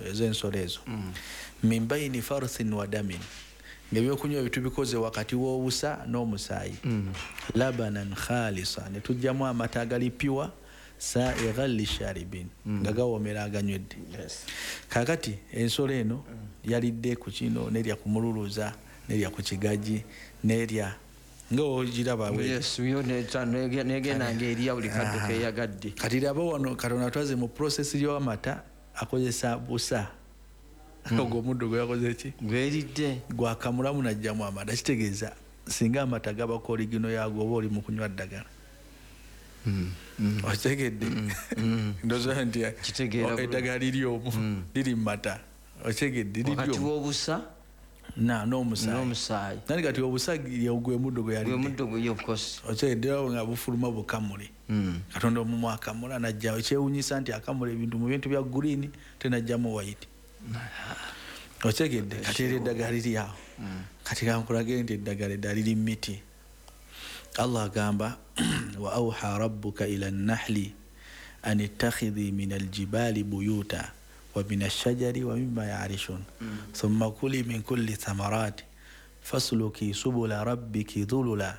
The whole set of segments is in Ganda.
Ez'ensolo ezo, min baini farthin wa damin, ngaebyokunywa ebyo tubikoze wakati w'obusa n'omusaayi, labanan khalisa, ne tujjamu amata agali pure, saighan lisharibin, nga gawomera aganywedde. Kakati ensolo eno yalidde ku kino, nerya ku mululuza, nerya ku kigaji, nerya nga ogiraba. Negenda ngaerya buli kadde keyagadde. Kati raba wano Katonda twaze mu process y'amata, akozesa busa, ogwo omuddo gwe yakoze ki? Gweridde. Gwakamulamu najjamu amata. Kitegeeza singa amata gabako original yago, oba oli mu kunywa ddagala. Okitegedde? Ndowooza nti Kitegeera bulungi. eddagala liri omwo, liri mu mata. Okitegedde? Liri Wakati omwo w'obusa n'omusaayi. N'omusaayi. Nani kati obusa gwe muddo gwe Gwe yalidde. muddo gwe yokosi. Okitegedde? Nga bufuluma bukamule. Katonda omumu akamula najjawo. Ekyewunyisa nti akamula ebintu mu bintu bya green, tenajjamu white. Okitegedde? Kati era eddagala liri awo. Kati kankulage nti eddagala eddala liri mu miti. Allah agamba, wa auha rabbuka ila nnahli an ittakhidhi min aljibali buyuta wa min ashajari wa mimma yarishun, thumma kuli min kulli thamarati fasluki subula rabbiki dhulula,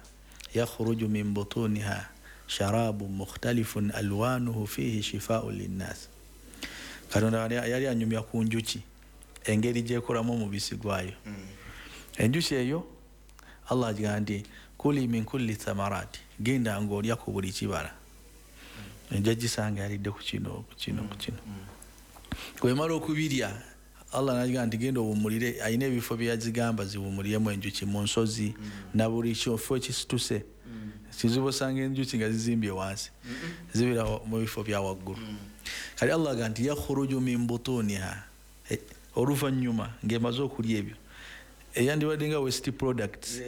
yakhruju min butuniha sharabun mukhtalifun alwanuhu fihi shifaun linnas. Katonda yali anyumya ku njuki, engeri gyekolamu omubisi gwayo. Enjuki eyo Allah agamba nti kuli min kulli thamarati, genda ngaolya ku buli kibala. Ejja gisanga yalidde ku kino, ku kino, ku kino. Bwemala okubirya, Allah nagiga nti genda owumulire. Alina ebifo byeyazigamba ziwumuliremu enjuki, mu nsozi na buli kifo ekisituse. Kizibu osanga enjuki nga zizimbye wansi, zibeera mu bifo bya waggulu. Kati Allah aga nti yakhruju min butuniha, oluvannyuma ng'emaze okulya ebyo eyandibadde nga waste products,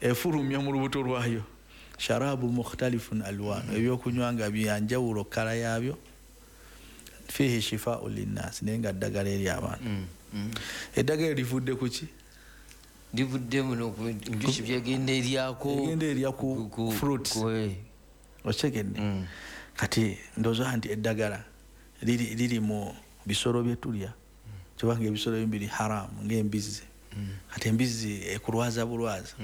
efulumya mu lubuto lwayo sharabu mukhtalifun alwanu, ebyokunywa nga byanjawulo kala yaabyo, fihi shifau linnas, naye nga ddagala eri abantu. Eddagala livudde ku ki? Livudde muno njuki byegenda eryako. Egenda erya ku fruits. Okitegedde? Kati ndowooza nti eddagala liri mu bisolo byetulya, kubanga ebisolo ebimu biri haramu ng'embizzi. Kati embizzi ekulwaza bulwaza.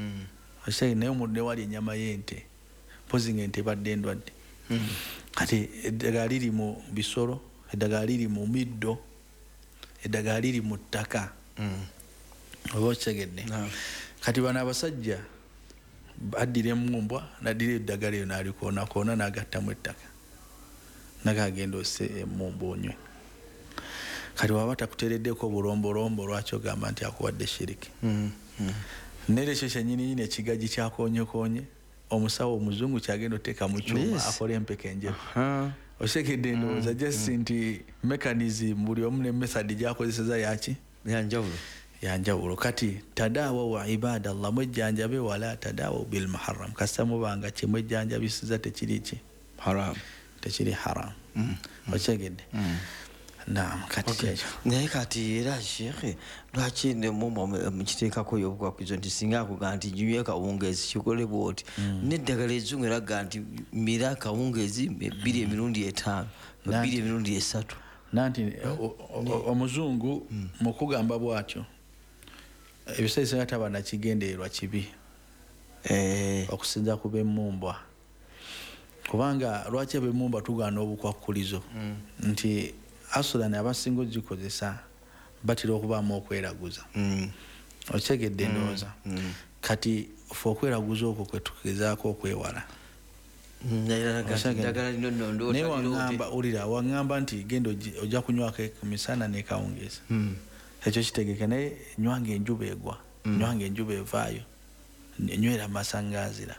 Okitegedde? Naye omuntu newali ennyama y'ente, mpozi nga ente ebadde endwadde. Kati eddagala liri mu bisolo, eddagala liri mu middo, eddagala liri mu ttaka. Oba okitegedde? Kati bano abasajja addira emumbwa, naddira eddagala eyo nalikoonakona, nagattamu ettaka, nagagenda ose emumbwa onywe. Kati waba takuteereddeko obulombolombo, lwaki ogamba nti akuwadde shiriki? Nera ekyo kyenyininyini ekigaji kyakonyekonye, omusawo omuzungu kyagenda oteeka mu kyuma akole empeka enjeru. Okitegedde? Ndowooza just nti mechanism, buli omu ne method gyakozeseza yaki? Yanjawulo. Yanjawulo. Kati tadawaw ibadallah, mwejjanjabe, wala tadawaw bilmuharram, kasita mubanga kyemwejjanjabisiza tekiri ki? Haram. Tekiri haram. Okitegedde? Naam, kati kyekyo. Naye kati era shekhe, lwaki nemumba mukiteekako obukwakulizo nti singa akugaa nti nyumya kawungeezi kikole bwoti, neddagala ezzungu eraga nti mira kawungeezi 2 emirundi 5, 2 emirundi 3? Nanti omuzungu mu kugamba bwatyo, ebiseera ebisinga taba nakigendererwa kibi. Okusinza ku b'emmumbwa, kubanga lwaki ab'emmumbwa tugaana obukwakulizo? Nti asulan abasinga ogikozesa batera okubaamu okweraguza. Okitegedde? Ndowooza kati fe okweraguza okwo kwe tugezaako okwewala. Ddagala lino nno ndoota Naye liroote. waŋŋamba, wulira, waŋŋamba nti genda ojja kunywako ku misana nekawungeezi. Ekyo kitegeke, naye nywanga enjuba egwa, nywanga enjuba evaayo, nywera masangaazira,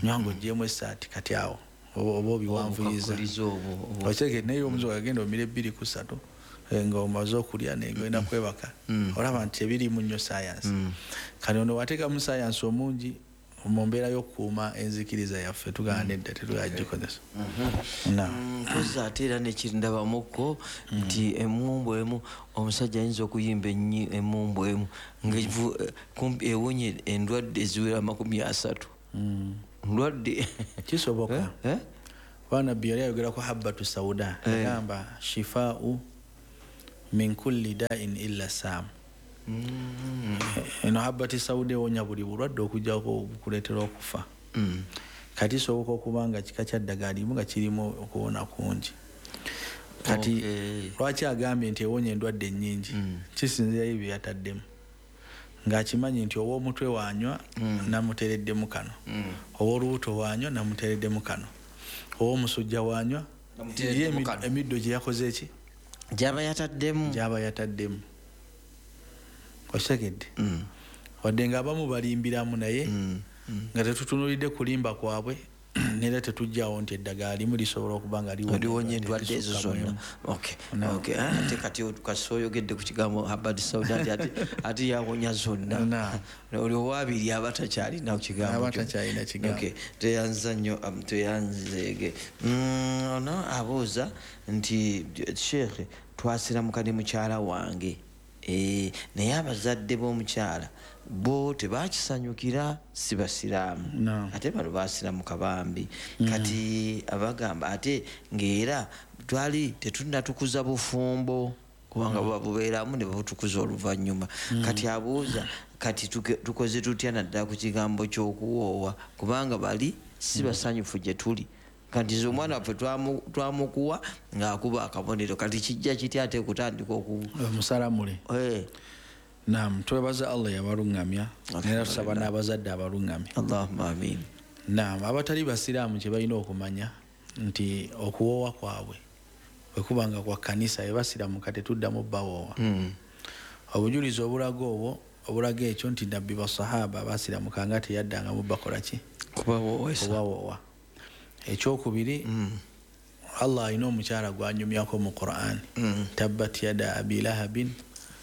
nywanga ogyemu essaati. Kati awo oba obiwanvuyiza. Obukwakkulizo obwo. Okitegedde? Naye omuzungu agenda omira 2 ku 3, nga omaze okulya negenda kwebaka. Olaba nti tebirimu nnyo science. Kati ono wateekamu science omungi mu mbeera y'okukuuma enzikiriza yaffe, tugamba nedda, tetugala gikozesa. Mpozi ate era nekindabamukko nti emumbu emu omusajja ayinza okuyimba emumbu emu kumpi ewonye endwadde eziwera 30 ndwadde. Kisoboka. Eh? Kuba nabbi yali ayogera ku habbatu sauda, yagamba shifau Min kulli da'in illa sam. Eno habati sauda ewonya buli bulwadde okujjako okuleetera okufa. Kati kisoboka okuba nga kika kya ddagala limu nga kirimu okuwona kungi. Kati lwaki agambye nti ewonya endwadde ennyingi? Kisinziirayo bye yataddemu, ng'akimanyi nti ow'omutwe wanywa namuteereddemu kano, ow'olubuto wanywa namuteereddemu kano, ow'omusujja wanywa emiddo gye yakoze eki gyaba yataddemu, gyaba yataddemu. Okitegedde? Wadde ng'abamu balimbiramu, naye nga tetutunuulidde kulimba kwabwe, nera tetujjawo nti eddagala limu lisobola okuba nga liwonya endwadde ezo zonna. Ate kati kasi oyogedde ku kigambo habati sauda nti ate yawonya zonna, oli owabiri aba takyalina kigambo. Tweyanza nnyo, tweyanzeege. Ono abuuza nti sheekhe, twasiramuka ne mukyala wange, naye abazadde b'omukyala bo tebakisanyukira, si basiraamu, ate bano basiramuka bambi. Kati abagamba ate ng'era twali tetunnatukuza bufumbo, kubanga buba bubeeramu ne babutukuza oluvannyuma. Kati abuuza kati tukoze tutya naddala ku kigambo ky'okuwoowa, kubanga bali si basanyufu gye tuli. Kati nze omwana waffe twamukuwa ng'akuba akabonero, kati kijja kitya ate kutandika omusalamule? Naam, twebaza Allah yabaluŋŋamya, era tusaba n'abazadde abaluŋŋamya. Allahumma amin. Naam, abatali basiraamu kye balina okumanya nti okuwoowa kwabwe bwe kuba nga kwa kkanisa, ebasiramuka tetuddamu bawoowa. Obujulizi obulaga obwo, obulaga ekyo nti nabbi basahaba basiramuka nga teyaddangamu bakola ki? Kubawoowa. Ekyokubiri, Allah alina omukyala gw'anyumyako mu Qur'an, tabbat yada abi lahabin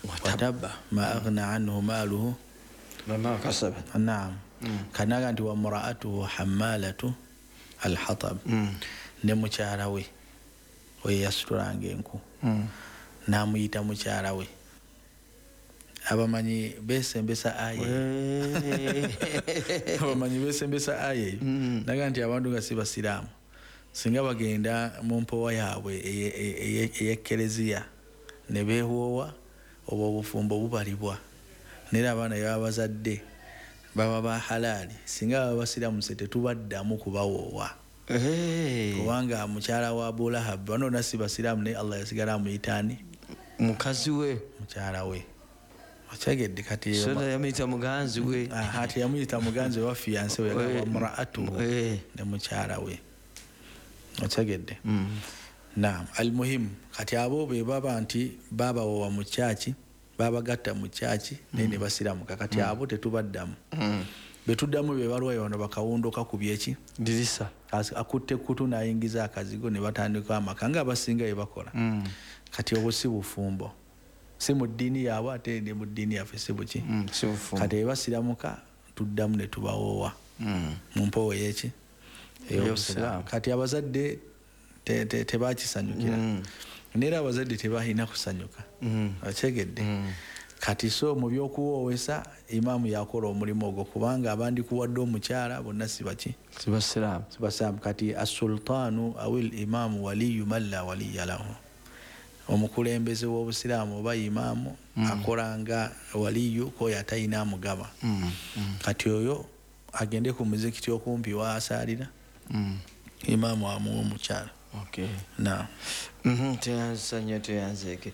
watabba ma aghna anhu maaluhu wama kasaba. Naam, kanaga nti wa mraatuhu hammalatu alhatab, ne mukyala we oyo yasitulanga enku, n'amuyita mukyala we. Abamanyi besembesa aya, abamanyi besembesa aya eyo, naga nti abantu nga si basiraamu singa bagenda mu mpowa yaabwe ey'ekkereziya ne beewoowa, obwo obufumbo bubalibwa, nera abaana baba bazadde baba ba halaali. Singa baba basiramuse tetubaddamu kubawoowa, kubanga mukyala wa Abu Lahab bano bonna si basiraamu, naye Allah yasigala amuyita ani? Mukazi we, mukyala we. Okitegedde? Kati yamuyita muganzi we. Ati yamuyita muganzi we wa fiance we, wa mraatuhu, ne mukyala we. Okitegedde? Naam, almuhimu kati abo be baba nti babawowa mu kyaki, babagatta mu kyaki, naye ne basiramuka. Kati abo tetubaddamu. Betuddamu be balwayo bano bakawundo kakubye eki dirisa, akutte kutu n'ayingiza akazigo ne batandika amaka nga abasinga bye bakola. Kati obwo si bufumbo, si mu ddiini yaabwe ate ne mu ddiini yaffe si buki. Kati ebasiramuka tuddamu ne tubawoowa mu mpowo y'eki ey'obusiraamu. Kati abazadde tebakisanyukira, neera abazadde tebalina kusanyuka. Okitegedde? Kati so mu by'okuwoowesa imaamu yakola omulimu ogwo, kubanga abandikuwadde omukyala bonna si baki? Si basiraamu. Si basiraamu. Kati assultaanu awil imaamu waliyu man la waliya lahu, omukulembeze w'obusiraamu oba imaamu akola nga waliyu k'oyo atalina amugaba. Kati oyo agende ku muzikiti okumpi waasaalira, imaamu amuwa omukyala. Naam. Tweyanza nnyo, tweyanzeeke.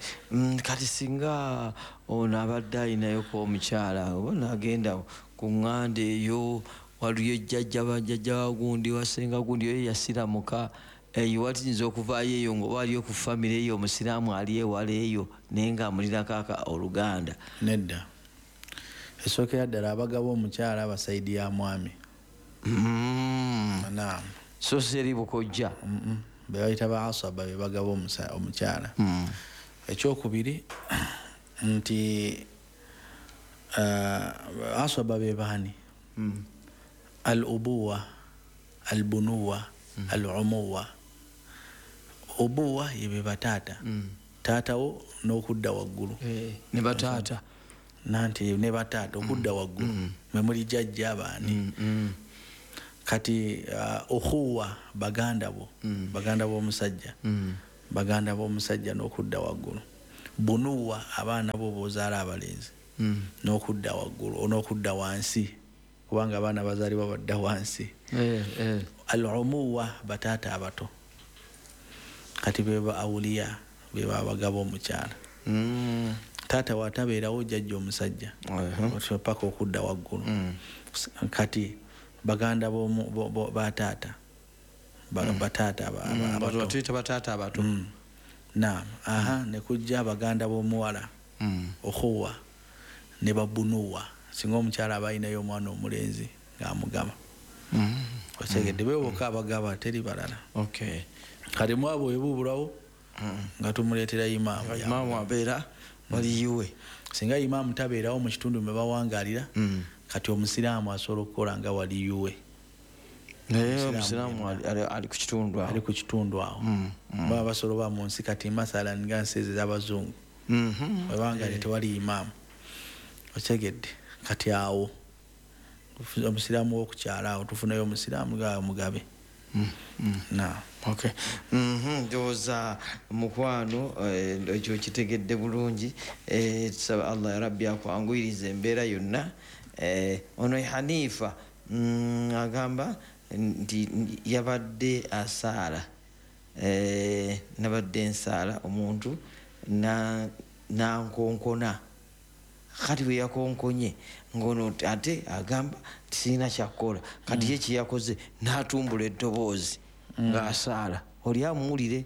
Kati singa ono abadde ayinayoko omukyala oba nagenda ku ŋŋanda eyo, waliyo jjajja bajjajja wa gundi wasenga gundi oyo yasiramuka, eyo watiyinza okuvaayo eyo nga oba aliyo ku famire eyo omusiraamu ali ewala eyo naye ng'amulinako oluganda? Nedda, esookera ddala abagaba omukyala abasaidi ya mwami. Naam. So si eri bukojja. Be bayita ba asaba be bagaba omukyala. Ekyokubiri nti asaba be baani? Al ubuwa, al bunuwa, al umuwa. Ubuwa ye be bataata, taatawo n'okudda waggulu, ne bataata nanti ne bataata okudda waggulu mwe muli jjajja abaani. Kati ukhuwa baganda bo, baganda b'omusajja, baganda b'omusajja n'okudda waggulu. Bunuwa abaana bo bozaala abalenzi n'okudda waggulu n'okudda wansi, kubanga abaana bazaalibwa badda wansi. Al-umuwa bataata abato, kati beba awuliya, beba abagaba omukyala. Taata watabeerawo jjajja omusajja paka okudda waggulu. Kati baganda bataata bataata abato, bataata abato. Naam, aha, ne kujja abaganda b'omuwala okhuwa ne babunuwa, singa omukyala aba alinayo omwana omulenzi ng'amugaba. Otegedde? Beboka abagaba, teri balala. Kati mwabo ebubulawo nga tumuleetera imaamu. Imaamu abeera waliyiwe. Singa imaamu tabeerawo mu kitundu mwe bawangalira, kati omusiraamu asobola okukola nga waliyuwe. Naye omusiraamu ali ku kitundu awo, ali ku kitundu awo. Baba basobola mu nsi kati masala nga nsi ez'abazungu webangali tewali imaamu. Otegedde? Kati awo omusiraamu w'okukyala awo tufunayo omusiraamu nga mugabe. Na okay. Ndowooza mukwano ekyo kitegedde bulungi. Tusaba Allah ya Rabbi akwanguyiriza embeera yonna. Ono Hanifa agamba nti yabadde asaala, nabadde nsaala omuntu nankonkona, kati bwe yakonkonye ngono ate agamba sirina kyakukola, kati ye kyeyakoze n'atumbula eddoboozi ng'asaala oli amuwulire.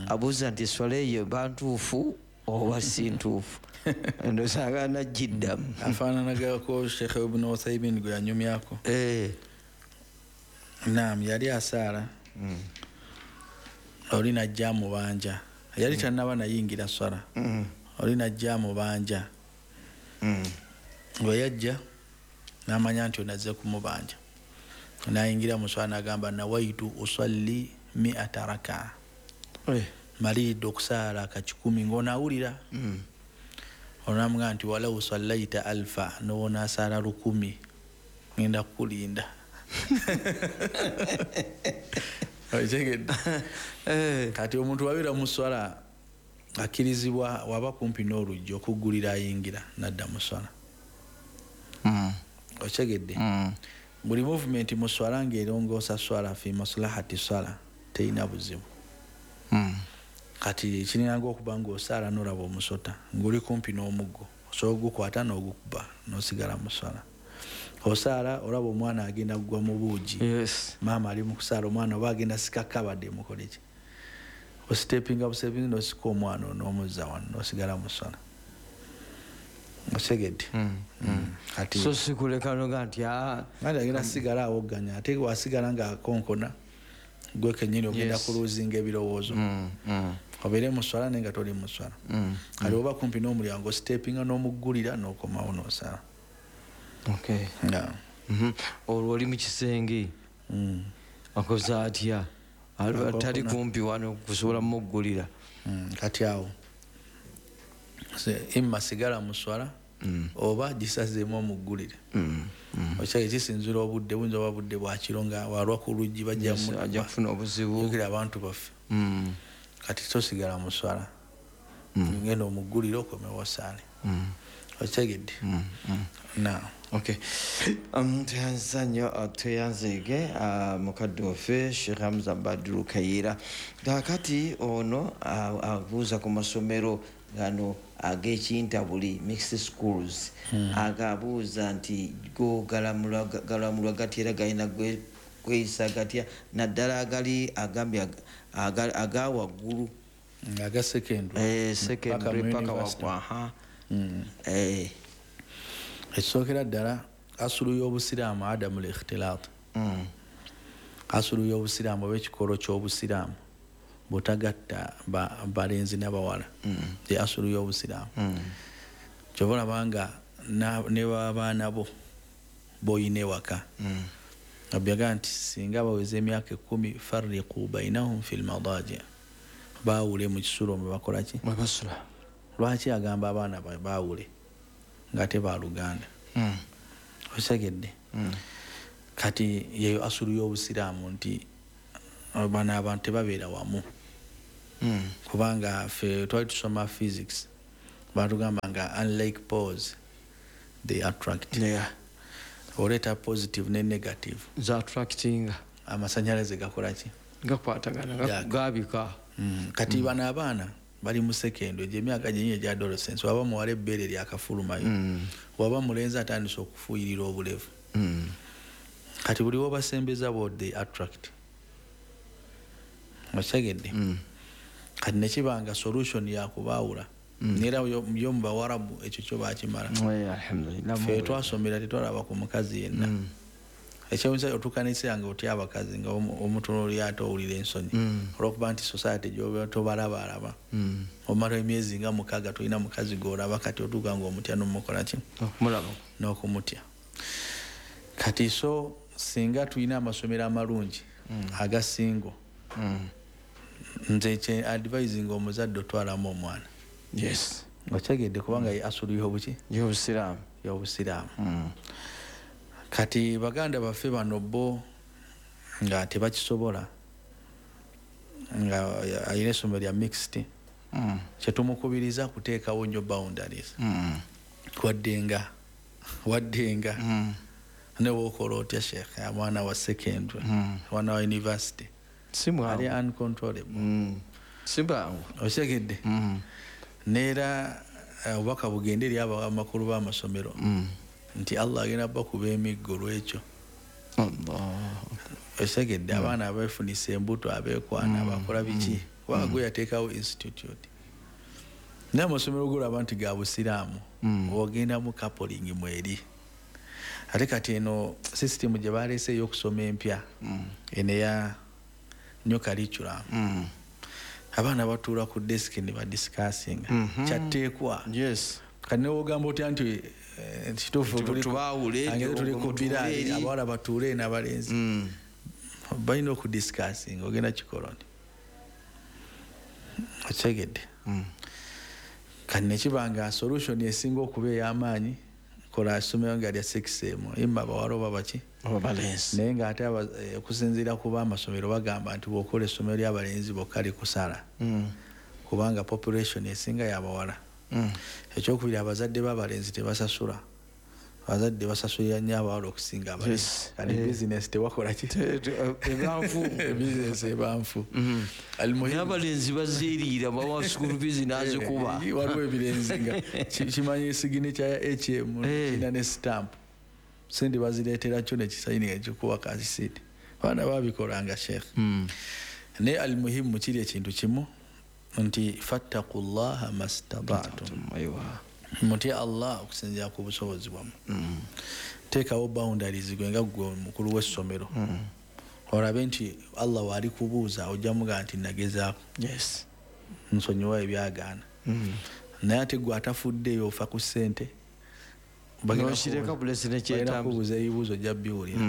Abuuza nti eswala eyo bantuufu oba si ntuufu? Ndowooza najjiddamu. Afaananagako Sheikh Ibn Uthaymin gwe yanyumyako. Naam, yali asaala oli najja mubanja, yali tannaba nayingira swala, oli najja mubanja. Bwe yajja n'amanya nti onazze kumubanja, nayingira mu swala n'agamba nawaitu usalli 100 raka, maliridde okusaala ka 100 ng'onaawulira. Onamugamba nti walau sallaita alfa, n'onaasaala 1000 ngenda kukulinda. Otegedde? Kati omuntu wabeera mu swala akkirizibwa waba kumpi n'oluggi okuggulira ayingira n'adda mu swala. Otegedde? Buli movement mu swala ng'erongoosa swala fi maslahati swala terina buzibu. Kati kirinanga okuba ng'osaala n'olaba omusota ng'oli kumpi n'omuggo, osobola ogukwata n'ogukuba n'osigala mu swala. Osaala olaba omwana agenda kugwa mu buugi, maama ali mu kusaala omwana oba agenda sika kabadde mukole ki, ositepinga busepinga n'osika omwana n'omuzza wano n'osigala mu swala. Otegedde? Kati so sikuleka noga nti agenda sigala awogganya, ate wasigala ng'akonkona gwe kennyini ogenda kuluuzinga ebirowoozo. Obeere mu swala naye nga toli mu swala. Kati oba kumpi n'omulyango ositepinga n'omuggulira n'okomawo n'osaala. Olwo oli mu kisenge akoze atya? Tali kumpi wano kusobola muggulira. Kati awo imma sigala mu swala oba gisazeemu omuggulire. Okyali kisinzira obudde, buyinza oba budde bwa kiro nga walwa ku luggi bajja kufuna obuzibu. Jjukira abantu baffe. Kati tosigala mu swala, ngenda omuggulire okomewo osaale. Otegedde? Na okay. Tweyanza nnyo, tweyanzeege mukadde waffe Sheikh Hamza Badru Kayiira. Kaakati ono abuuza ku masomero gano ag'ekintabuli, mixed schools, agabuuza nti go galamulwa gatya era galina kweyisa gatya, naddala agali agambye aga waggulu, aga secondary, secondary paka waggulu. Ekisookera ddala asulu y'obusiraamu adamu l-ikhtilaat. Asulu y'obusiraamu oba ekikolo ky'obusiraamu butagatta balenzi n'abawala, ye asulu y'obusiraamu. Kyova olaba nga ne babaana bo b'oyina ewaka, Nabbi yagamba nti singa baweza emyaka 10 farriqu bainahum fil madaji, baawule mu kisulo mwe bakola ki? Mwe basula. Lwaki agamba abaana baawule nga tebaluganda? Otegedde? Kati yeyo asulu y'obusiraamu nti bano abantu tebabeera wamu. Kubanga ffe twali tusoma physics, batugamba nga unlike poles they attract. Oleeta positive ne negative, za attracting, amasanyalaze gakolaki? Gakwatagana, gabika. Kati bano abaana bali mu secondary, egyo emyaka gyenyi egya adolescence, waba muwala ebbeere lyakafulumayo, waba mulenzi atandise okufuuyirira obulevu. Kati buli wobasembeza bo they attract, okitegedde? Kati nekibanga solution yakubaawula, nera yo mu Bawarabu ekyo kyo bakimala. Alhamdulillah. Ffe twasomera tetwalaba ku mukazi yenna. Ekyewunyisa otuuka n'ekiseera nga otya abakazi, nga omutunuulira ate owulira ensonyi, olwokuba nti society gyoba tobalabaalaba. Omala emyezi nga 6 tolina mukazi gw'olaba, kati otuuka ng'omutya n'omukola ki? Okumulaba. N'okumutya. Kati so singa tulina amasomero amalungi agasingo, nze kye advising omuzadde otwalamu omwana. Okitegedde? Kubanga ye asulu y'obuki? Y'obusiraamu. Y'obusiraamu. Kati baganda baffe bano bo nga tebakisobola, nga alina essomero lya mixed, kyetumukubiriza kuteekawo nnyo boundaries. Waddenga ne bw'okola otya sheikh, mwana wa secondary, mwana wa university, Si mwangu. ali uncontrollable. Si mwangu. Okitegedde? Neera obubaka bugende eri amakulu b'amasomero nti Allah agenda bakuba emiggo lwekyo. Okitegedde? Abaana abeefunisa embuto, abeekwana, abakola biki, kubanga gwe yateekawo institute. Naye amasomero golaba nti ga busiraamu, ogendamu coupling mweri. Ate kati eno system gye baleese ey'okusoma empya, eno eya new curriculum, abaana batuula ku desk ne badiscussinga. Kyatteekwa. Kati newogamba otya nti kituufu Tubaawule, tuli ku mutuule biraali, eri. abawala batuule n'abalenzi. Balina okudiscussinga, ogenda kikola nti okitegedde? Kati nekibanga solution esinga okuba ey'amaanyi, kola essomero nga lya sex emu, imma abawala oba baki? Oba balenzi. Naye ng'ate okusinziira ku b'amasomero bagamba nti bw'okola essomero ly'abalenzi bokka likusala. Kubanga population esinga y'abawala. Ekyokubiri, abazadde b'abalenzi tebasasula. Abazadde basasulira nnyo abawala okusinga abalenzi. Kati business tewakola ki? Ebanfu. Business ebanfu. Almuhimu. N'abalenzi bazeeriira, bawa school fees n'azikuba. Waliwo ebirenzi nga kimanyi signature ya HM, kirina ne stamp. Sente bazireetera kyo ne kisayini ekikuwa ka receipt. Abaana babikolanga sheikh. Naye almuhimu kiri ekintu kimu nti fattaqullaha mastata'tum. Mutye Allah okusinziira ku busobozi bwammwe. Teekawo boundaries gwe nga ggwe omukulu w'essomero. Olabe nti Allah w'ali kubuuza ojja mugamba nti nagezaako. Nsonyiwa ebyagaana. Naye ate ggwe atafuddeyo ofa ku ssente. Bagenda N'okireka bulesi ne bagenda kyetambula. kubuuza ebibuuzo ojja biwulira.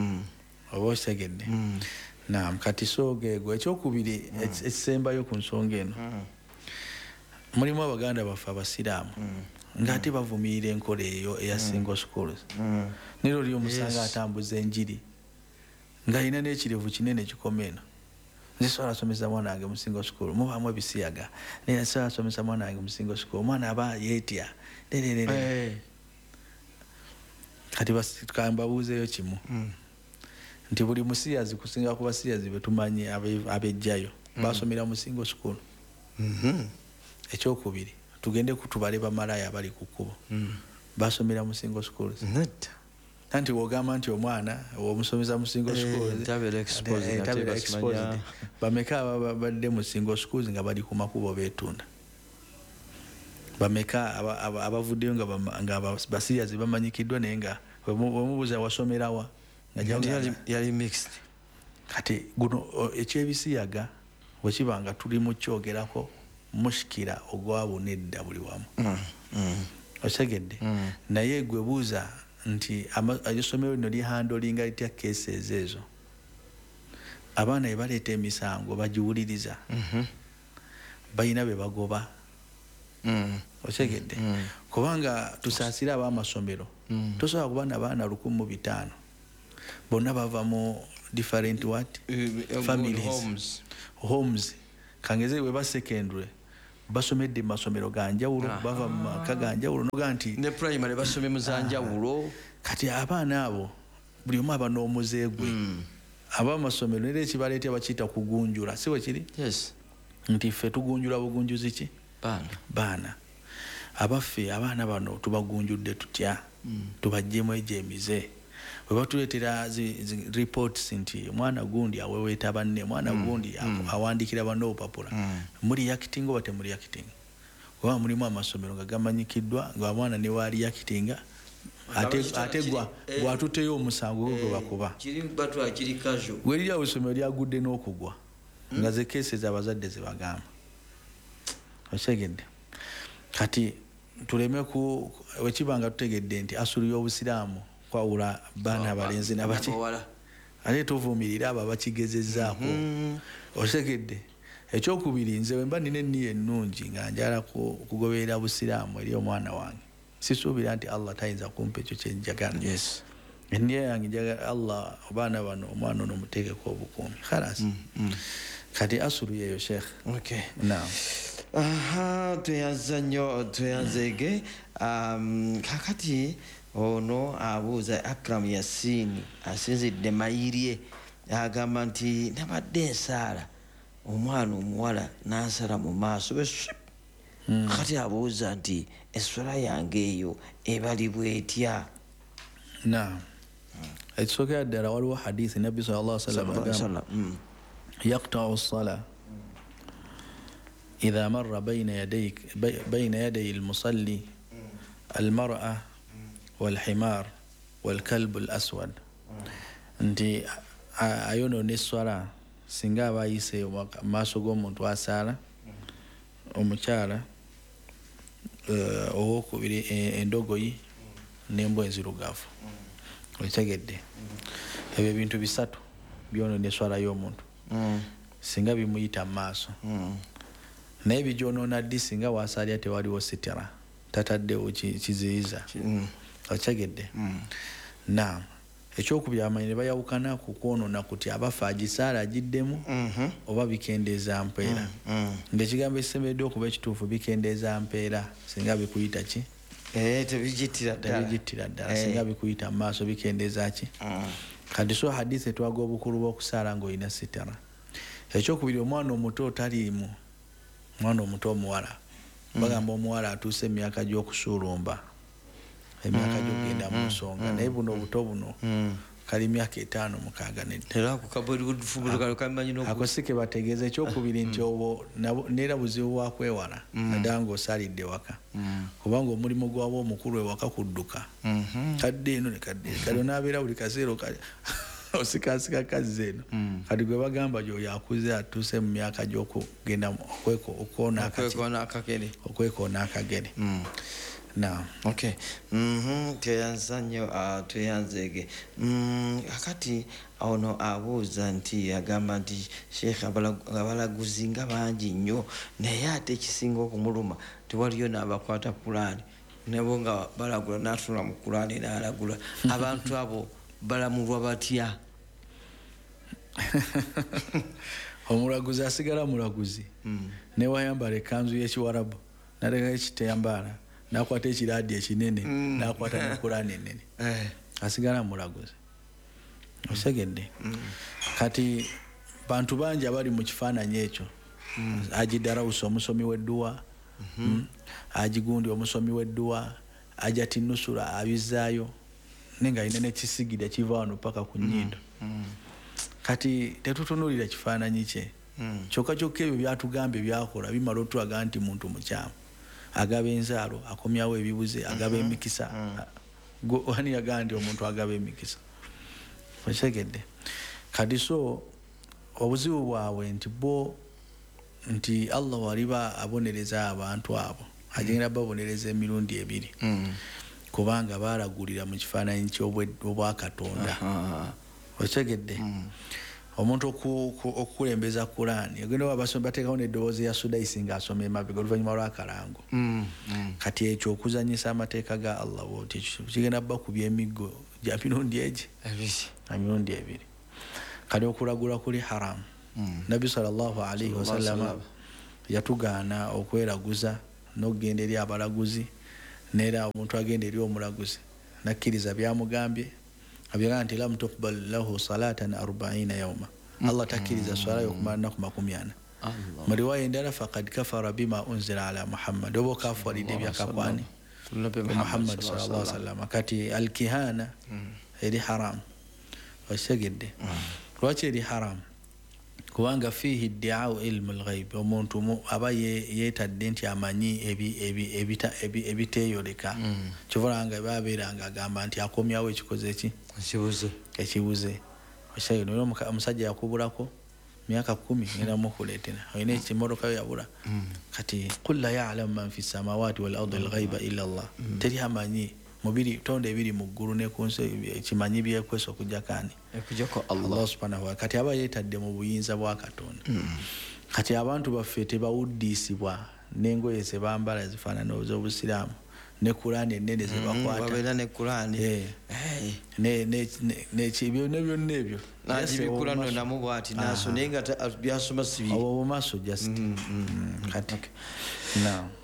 Oba okitegedde? Naam, kati so geego. Ekyokubiri, ekisembayo ku nsonga eno. Mulimu abaganda baffe abasiraamu ng'ate bavumirira enkola eyo eya single schools. Naye oli omusanga atambuza enjiri ng'alina n'ekirevu kinene kikoma eno. Nze sobola asomesa mwana wange mu single school, mubaamu ebisiyaga. Naye sobola asomesa mwana wange mu single school, omwana aba yeetya. Lererere. Kati kambabuuzeeyo kimu. Nti buli musiyazi kusinga ku basiyazi be tumanyi ab'ejjayo, basomera mu single school. Ekyokubiri, tugende kutubale bamalaaya abali ku kkubo. Basomera mu single schools. Nedda. Anti wogamba nti omwana omusomesa mu single schools, tabeera exposed, ate tabeera basimanya. exposed. Bameka ababadde mu single schools nga bali ku makubo beetunda? Bameka abavuddeyo nga basiyazi bamanyikiddwa naye nga bwemubuuza wasomerawa? Nga Yali gy'ogamba. yali mixed. Kati guno, ekyebisiyaga bwe kiba nga tuli mu kyogerako mushikira ogwabuna edda buli wamu. Okitegedde? Naye gwe buuza nti essomero lino lihandolinga litya cases ezo? Abaana bwe baleeta emisango bagiwuliriza. Balina be bagoba. Okitegedde? Kubanga tusaasire ab'amasomero. Tosobola kuba n'abaana 1,500. Bonna bava mu different what? Families. Homes. Homes. Kangeze weba secondary basomedde mu masomero ganjawulo, bava mu maka ganjawulo, noga nti ne primary basomye mu zanjawulo. Kati abaana abo buli omu aba n'omuze gwe. Abamasomero nera ekibaleetera bakiyita kugunjula, si bwe kiri? Yes. Nti ffe tugunjula bugunjuzi ki? Baana. Abaffe abaana bano tubagunjudde tutya? Tubaggyemu egyo emize. Bwe batuleetera reports nti omwana gundi aweweeta banne, omwana gundi awandiikira banne obupapula, muli reacting oba temuli reacting? Kuba mulimu amasomero nga gamanyikiddwa nga omwana ne waali reactinga, ate gwatutteyo omusango gwe bakuba. Weriri awo essomero lyagudde n'okugwa nga ze cases abazadde ze bagamba. Okitegedde? Kati tuleme wekiba nga tutegedde nti asulu y'obusiraamu kwawula baana abalenzi n'abaki, ate tuvumirira abo abakigezezzaako. Okitegedde? Ekyokubiri, nze bwe mba nina enniya ennungi nga njagala kugoberera busiraamu eri omwana wange, sisuubira nti Allah tayinza kumpa ekyo kye njagala. Yes. Enniya yange njagala Allah abaana bano omwana ono muteekeko obukuumi. Khalas. Kati asulu yeeyo Sheikh. Okay. Naam. Aha, tweyanza nnyo, tweyanzeege. Kakati ono abuuza Akram Yasini asinzidde Mayirye, agamba nti nabadde nsaala omwana omuwala n'ansala mu maaso bwe kati abuuza nti esswala yange eyo ebalibwa etya? Naam. Ekisookera ddala waliwo hadithi Nabbi sallallahu alaihi wasallam agamba yaqta'u as-sala idha marra bayna yaday al-musalli al-mar'a wal-himar wal-kalbu al-aswad, nti ayonoona esswala singa aba ayise mu maaso g'omuntu asaala, omukyala, owokubiri endogoyi n'embwa enzirugavu. Okitegedde? Ebyo ebintu bisatu byonoona esswala y'omuntu singa bimuyita mu maaso. Naye bigyonoona ddi? Singa wasaalya tewaliwo sitira, tataddewo kiziyiza. Okitegedde? Naam. Ekyokubiri, abamanyi ne bayawukana ku kwonoona kuti abafa agisaala agiddemu oba bikendeeza mpeera. Ng'ekigambo ekisemberedde okuba ekituufu, bikendeeza mpeera singa bikuyita ki? Tebigittira ddala. Tebigittira ddala. Singa bikuyita mu maaso bikendeeza ki? Kati so hadithi etwaga obukulu bw'okusaala ng'olina sitara. Ekyokubiri, omwana omuto taliimu, omwana omuto omuwala. Bagamba omuwala atuuse emyaka gy'okusuulumba, emyaka gy'okugenda mu nsonga, naye buno obuto buno kali myaka 5 6 nedda. Era ako kamanyi n'oku- Ako si ke bategeeza. Ekyokubiri nti obwo neera buzibu bwa kwewala, naddala ng'osaalidde waka, kubanga omulimu gwabwo omukulu ewaka kudduka. Kadde eno ne kadde eno. Kati onaabeera buli kaseera osikaasika kazzi eno. Kati gwe bagamba gy'oyo akuze atuuse mu myaka gy'okugenda okwoona Okwekoona akagere. Okwekoona akagere. Naam. Okay. Tweyanza nnyo, tweyanzeege. Kakati ono abuuza nti agamba nti Sheikh abalaguzi nga bangi nnyo, naye ate ekisinga okumuluma tewaliyo n'abakwata Kulaani, nabo nga balagula n'atunula mu Kulaani n'alagula. Abantu abo balamulwa batya? Omulaguzi asigala mulaguzi. Ne wayambala ekkanzu y'ekiwarabu, n'alekayo ekiteyambaala, n'akwata ekiraadi ekinene, n'akwata ne Kulaani ennene. Asigala mulaguzi. Okitegedde? Kati bantu bangi abali mu kifaananyi ekyo. Haji Darausi omusomi w'edduwa, Haji Gundi omusomi w'edduwa, Hajati Nusura abizaayo, naye ng'alina n'ekisigida kiva wano paka ku nnyindo. Kati tetutunuulira kifaananyi kye. Kyokka kyokka ebyo byatugambye byakola bimala otulaga nti muntu mukyamu. Agaba enzaalo, akomyawo ebibuze, agaba emikisa. Ani yagamba nti omuntu agaba emikisa? Okitegedde? Kati so obuzibu bwabwe nti bo nti Allah waliba abonereza abantu abo, agenda babonereza emirundi ebiri. Kubanga baalagulira mu kifaananyi ky'obwakatonda. Okitegedde? Omuntu okukulembeza Kulaani, ogenda oba abasoma bateekawo n'eddoboozi ya Sudaisi ng'asoma emabega oluvannyuma lw'akalango. Kati ekyo okuzannyisa amateeka ga Allah bw'oti, ekyo kigenda bakubya emiggo gya mirundi egi? Ebiri. Emirundi ebiri. Kati okulagula kuli haramu. Nabbi sallallahu alaihi Sallallahu wasallam alaihi wasallam. Yatugaana okweraguza n'okugenda eri abalaguzi, neera omuntu agenda eri omulaguzi nakkiriza byamugambye, abyagamba nti lam tuqbal lahu salatan 40 yawma, Allah takkiriza swala yokumala nnaku 40. Mu riwaya endala faqad kafara bima unzila ala Muhammad, oba okafuwalidde ebyakakwani Muhammad sallallahu alaihi wasallam. Kati alkihana eri haram, okitegedde? Lwaki eri haram? Kubanga fiihi ddiau ilmu lghaib, omuntu aba yeetadde nti amanyi ebiteeyoleka, kyova nga babeeranga agamba nti akomyawo ekikoze eki ekibuze. Omusajja yakubulako myaka 10 ngenda mukuleetera, olina ekimotoka yo yabula. Kati qul la yalamu man fi samawati wal ardi lghaiba illa Allah, teri amanyi mubiri tonda ebiri mu ggulu ne ku nsi ekimanyi byekwesa okujjako ani? Allah subhanahu wa. Kati aba yeetadde mu buyinza bwa Katonda. Kati abantu baffe tebawuddiisibwa n'engoye ze bambala zifaanana ez'obusiraamu ne Kuraani ennene ze bakwata, babeera ne Kuraani byonna byonna ebyo nagibikula nno namu bw'ati naso, naye nga byasoma si biri obwo bumaso just. Kati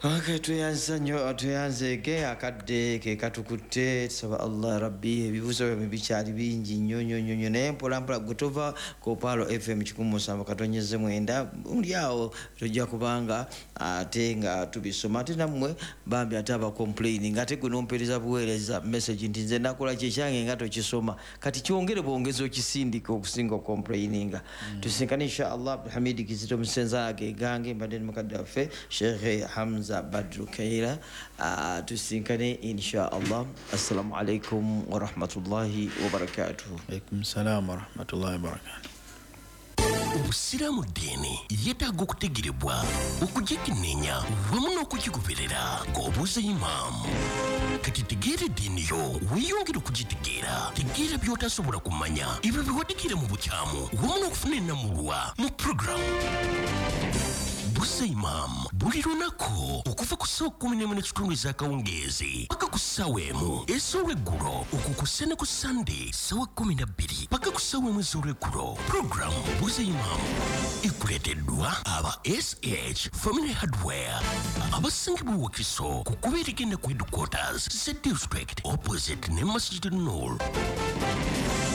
okay, tweyanza nnyo, tweyanzeege akadde ke katukutte. Tusaba Allah rabbi, ebibuuzo byabwe bikyali bingi nnyo nnyo nnyo nnyo, naye mpola mpola gwe tova ku Paalo FM 107.9 muli awo tojja kubanga ate nga tubisoma. Ate nammwe bambi ate abacomplaining, ate gwe nompeereza buweereza message nti nze nakola kyekyange nga tokisoma, kati kyongere bwongezi okisindika okusinga ocomplaininga. Tusinkane insha Allah. Abdulhamidi Kizito Musenza agegange, mbadde ne mukadde waffe Sheikh Hamza Badru Kaira. Tusinkane insha Allah. Assalamu alaikum warahmatullahi wabarakatuh. Alaikum salam warahmatullahi wabarakatuh. Obusiraamu ddiini yeetaaga okutegerebwa, okugikenneenya wamu n'okugigoberera ng'obuuza imaamu. Kati tegeera eddiini yo, weeyongere okugitegeera. Tegeera by'otasobola kumanya, ebyo biwadikire mu bukyamu wamu n'okufuna ennamulwa mu puroguramu Buuza Imaamu buli lunaku okuva ku ssaawa 11:15 ez'akawungeezi paka ku ssaawa 1 ez'olweggulo, okwo ku ne ku Sande ssaawa 12 paka ku ssaawa 1 ez'olweggulo. Puroguramu Buuza Imaamu ekuleeteddwa aba SH Family Hardware abasangibwa Wakiso ku kkubo erigenda ku headquarters za district opposite ne Masjid Nur,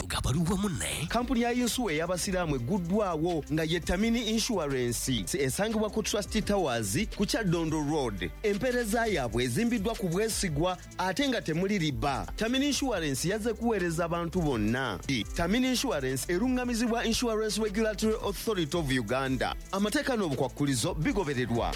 nga bali wamu ne kampuni ya yinsuwa ey'abasiraamu egguddwawo nga ye Tamini Insurance, esangibwa ku Trust Towers ku Kyaddondo Road. Empeereza yaabwe ezimbiddwa ku bwesigwa ate nga temuli riba. Tamini Insurance yazze kuweereza abantu bonna. Tamini Insurance eruŋŋamizibwa Insurance Regulatory Authority of Uganda. Amateeka n'obukwakkulizo bigobererwa.